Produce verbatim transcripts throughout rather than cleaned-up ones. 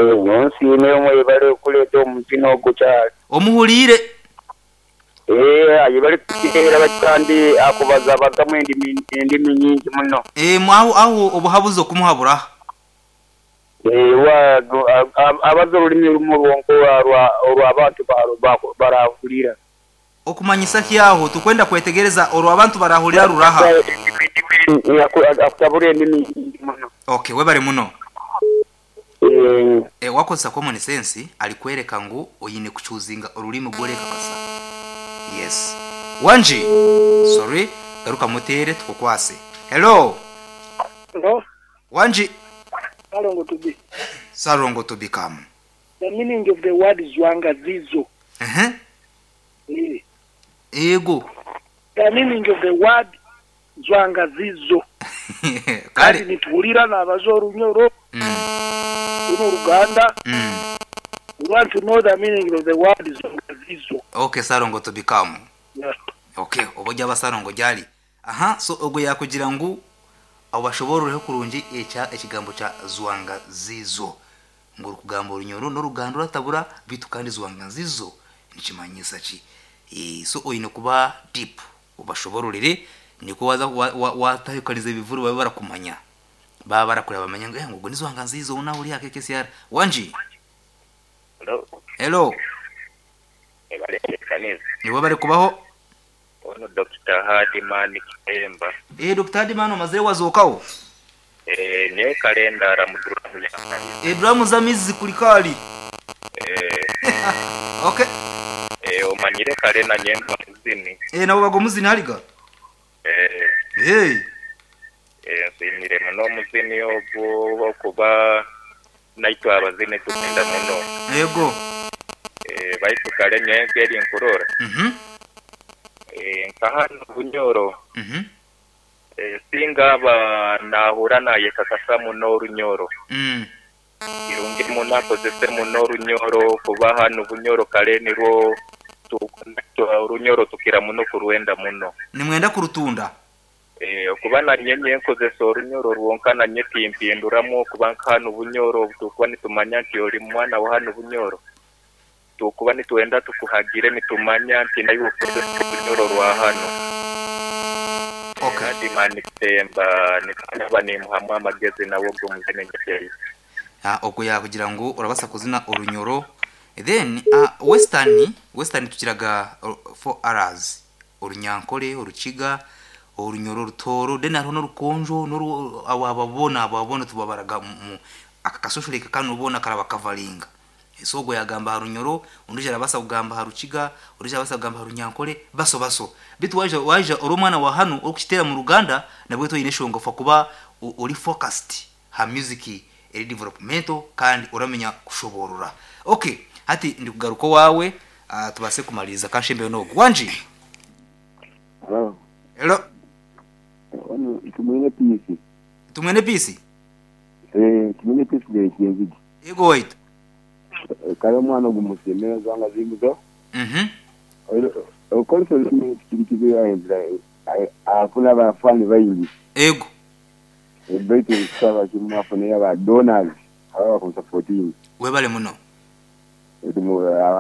Nsiime mwebale okuleeta omuzino ogwo kyali. Omuhuliire. Ee, ayebale kututeera bati kandi akubazabazamu endimi endimi nyingi muno. Ee, aho aho obuhabuzi okumuhabura. Ee, wa abaza olulimi lumu lwonka olwo abantu barahulira. Okumanyisa ki aho tukwenda kwetegereza olwo abantu barahulira ruraha. Akutabura endimi nyingi muno. Okay, webale muno. Ee. E, wakozesa common sense alikwereka ngu oyine kuchuzinga olulimi gworeka kasa. Yes. Wanji. Sorry, garuka mutere tukukwase. Hello. Hello. Wanji. Sarongo to be. Sarongo to become. The meaning of the word Zwanga Zizo. Uh-huh. Eh. Ego. The meaning of the word Zwanga Zizo. Kale. Nituwulira n'abaza Orunyoro. Mm. Runo Luganda. Mm. We want to know the meaning of the word Zwanga Zizo. Okay, Sarongo to become. Yeah. Okay, oba aba Sarongo gyali. Aha, so ogwo yakugira ngu abashobororeho kurungi ekya ekigambo kya Zwanga Zizo. Ngu orikugamba Orunyoro n'Oruganda oratabura bitu kandi Zwanga Zizo nikimanyisa ki? E, so oyine kuba deep obashobororere niko waza watahikaniza ebivuru babe barakumanya. Baba barakureba bamenya ngu eh ngo ni Zwanga Zizo una uri ake K C R. Wanji. Hello. Hello. Niwe bari kubaho. Ono Doctor Hadiman Kitemba. Eh, Doctor Hadiman omazire wazokawo. Eh, ne kalenda ramudura. Eh, drum za mizi kulikali. Eh. Okay. Eh, omanyire kale na nyemba muzini. Eh, nabo bago muzini haliga. Eh. Hey. Eh, nsimire muno muzini ogwo okuba naitwa abazini tugenda muno. Yego. Eh, baitu kale nyengeri nkurora. Mhm. Eh, nkahano Bunyoro. Mhm. Eh, singa ba nahura naye kakasa muno Orunyoro. Mm. Irungi muno akozese muno Orunyoro kuba hano Bunyoro kale nirwo Orunyoro tukira muno kuruenda muno. Nimwenda kurutunda. Eh, kuba na nyenye nkozesa Orunyoro rwonka na nye timpinduramu kuba nkahano Bunyoro tukuba nitumanya nti ori mwana wa hano Bunyoro. Tukuba nituenda tukuhagire nitumanya nti nayo ukozesa Orunyoro rwa hano. Okay. Hadiman Kitemba nikanaba nimuhamu amagezi nawo gumuzene ngeyi. Ah, ogwo yakugira ngu urabasa kuzina Orunyoro. Then uh, western western tukiraga four R's. Orunyankole, Orukiga, Orunyoro, Rutoro, then hariho n'Orukonjo n'oru ababona ababona tubabaraga mu akakasosholeka kano ubona karaba kavalinga. So ogwo yagamba Harunyoro, undi arabasa kugamba Harukiga, undi arabasa kugamba Harunyankole, baso baso. Bitu waje waje oromwana wa hano okukitera mu Ruganda nabwe toyine shongofa kuba uri focused ha music eri developmental kandi uramenya kushoborora. Okay, hati ndi kugaruko wawe uh, tubase kumaliriza kanshembe no wanji. Hello. Hello. Ono tumwene peace. Tumwene peace? Eh, tumwene peace de kienzidi. Ego wait. Kale mwana gumusemera Zwanga Zizo. Mhm. Okolso kirikizo ahenzira afuna abafani bayingi. Ego. Betu nsaba kimwafune aba donors aba ku fourteen. Webale muno.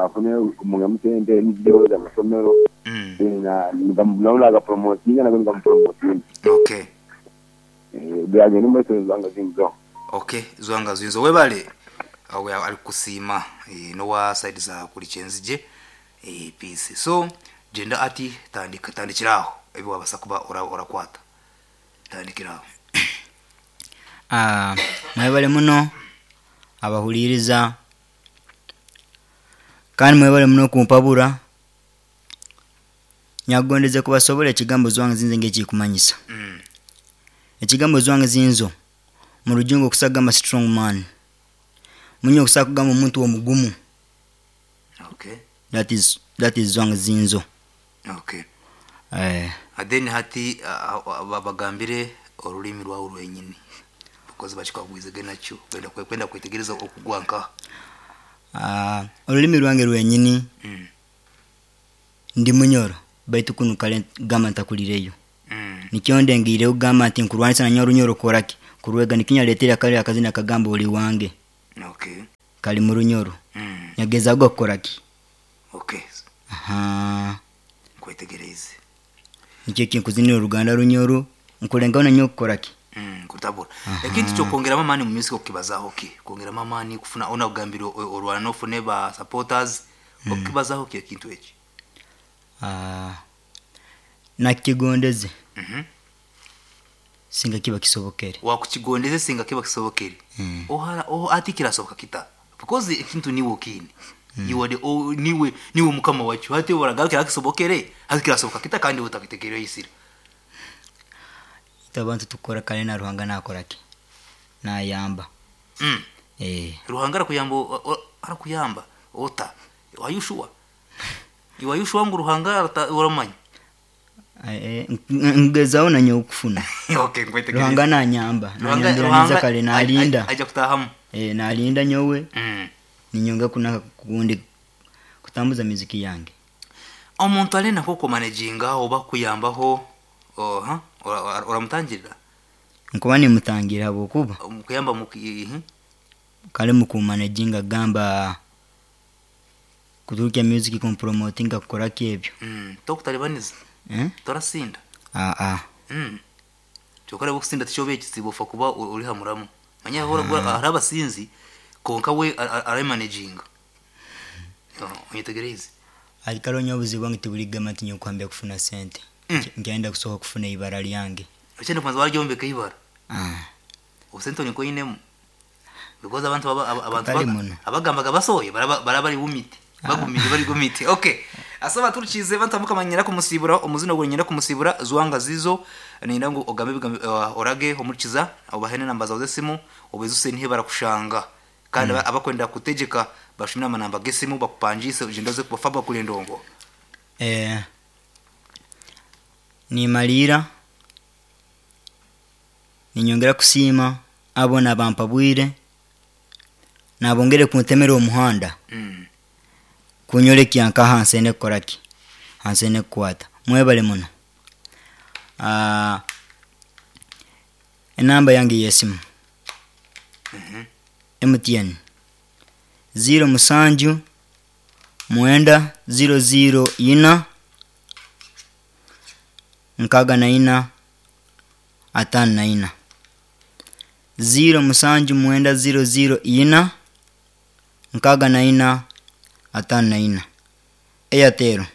Afune mungamutende nibyo za masomero. Mm. Na ngamulaula ga promotion na ngamupromotion. Okay. Eh byaje numba Zwanga Zizo. Okay, Zwanga Zizo webale. Awe alikusima e, nowa side za kulichenzije e, peace. So jenda ati tandika tandikiraho ebi wabasa kuba ora orakwata. Tandikiraho. Ah, mwebale muno abahuliriza kandi mwebale muno kumpabura nyagondeze kubasobola ekigambo Zwanga Zinzo ngekikumanyisa. Mm. Ekigambo Zwanga Zinzo mu rujungu kusagamba strong man. Munyo kusakugamba omuntu omugumu. Okay. That is that is Zwanga Zinzo. Okay. Eh, then hati uh, bagambire olulimi rwawe rwenyini because bachikagwizege nakyo kwenda kwenda kwetegereza okugwanka. Ah, olulimi rwange rwenyini. Mm. Ndi Munyoro baitu kunu kale gamba ntakulireyo. Mm. Nikyo ndengire ugamba nti nkurwanisa na Orunyoro koraki kurwega nikinyaletera kale akazina kagamba oli wange. Okay. Kali mu Runyoro. Mm. Nyagezaho kukoraki. Okay. Aha. Nkwetegereze. Nikyo kinkuzinira oruganda Runyoro, nkulengaho nanyowe kukoraki. Mm, kutabura. Ekintu kyokwongeramu amaani mu music okukibazaho ki? Kwongeramu amaani kufuna ona kugambira o- orwana n'ofune ba supporters okukibazaho ki ekintu eki? Ah, nakigondeze Mhm. singa kiba kisobokere. Wakukigondeze singa kiba kisobokere. Mm. Ohara oh, ati kirasoboka kita. Because ekintu niwe okine. You are the oh, niwe niwe mukama wacu. Hati oragaruka kisobokere, hati kirasoboka kita kandi utakitekereye isira. Itwe abantu tukora kale na Ruhanga nakoraki, nayamba. Mm. Eh, Ruhanga arakuyamba o- o- arakuyamba ota. Are you sure? You are you sure ngu Ruhanga arata- uramanya? eh, ngezaho nanyowe okufuna. Okay, nkwetegereze. Ruhanga nanyamba, Ruhanga nanyambira Ruhanga neza kale nalinda. aja kutahamu. Eh, nalinda nyowe Mm. ninyonga kunaka kundi kutambuza muziki yange. Omuntu alina kukumanaginga oba kuyambaho oha oramutangirira Nkuba nimutangira habwokuba kuyamba mu mhm. kale mukumanaginga gamba kuturukya music kumpromotinga kukoraki ebyo. Mm. Tokutalibaniza Eh? torasinda. Ah ah. Mm. Kyokka okusinda tikyoba ekizibu ofa kuba o- ori hamuramu manya hora hari abasinzi konka we aramanaginga onyetegereze. Alikalo nyowe obuzibu bwange tibuligamba nti nyowe kuhambya kufuna sente. Mm. Nkyenda kusoka kufuna ibara lyange. Okyenda kubanza waryombeka ibara Ah. obusente niko inemu because abantu baba- aba- abantu Katari baga- muno. abagambaga basohoye baraba baraba bari bumite bagumire bari gumite. Okay, asaba turukize bantu mukamanyira kumusibura omuzino gwe nyira kumusibura zwanga zizo ninda ngu ogambe bigambe uh, orage omukiza obahene namba zawe z'esimu obezuse nihe barakushanga kandi mm. abakwenda kutegeka bashimira amanamba g'esimu bakupangise ugenda kubafa bakulendongo. Eh, nimalira ninyongera kusiima abo nabampabwire nabongere kuntemera omuhanda mm. kunyolekya nka hansi ene kukoraki hansi ene kukwata mwebale muno. Ah, enamba yange yesimu mm M T N zero musanju mwenda zero zero ina nkaga na ina atano na ina zero musanju mwenda zero zero ina nkaga na ina atano na ina. Airtel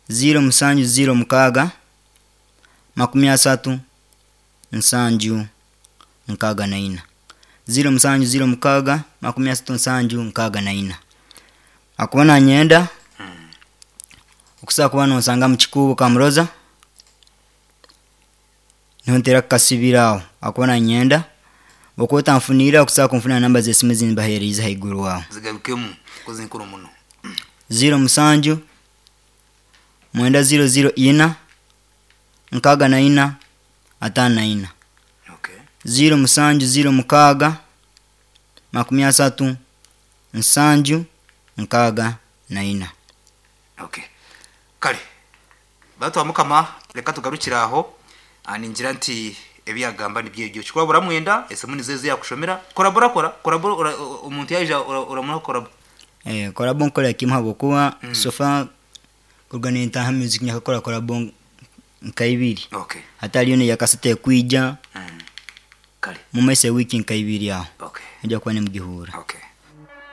zero musanju zero mukaga makumi asatu nsanju nkaga na ina zero musanju zero mukaga makumi asatu nsanju nkaga na ina. Akuba nanyenda okusobola kuba nonsanga mu kikuubo Kamuroza niho kukasibira aho akuba nanyenda okuba otanfuniire okusobola kunfunira namba z'esimu ezimbaheerize haiguru aho. Zigarukemu kozi nkuru muno. Zero musanju mwenda zero zero ina nkaga na ina atano na ina Okay. zero musanju zero mukaga makumi asatu nsanju nkaga na ina. Okay, kale bantu mukama reka tugarukire aho. Ah, ningira nti ebyagamba nibyo ebyo kikurabura mwenda esimu nizo yakushomera korabora kora korabora ora- o- omuntu yaija uramuha korabo. Eh, korabo nkorera kimwe habwokuba mm. sofa kuruga nintaha music nyakakora korabo nka ibiri Okay. hatariyo neyakasete kwija Mm. Kale. mumaiso ewiki nka ibiri aho Okay. nijja kuba nimugihura. Okay.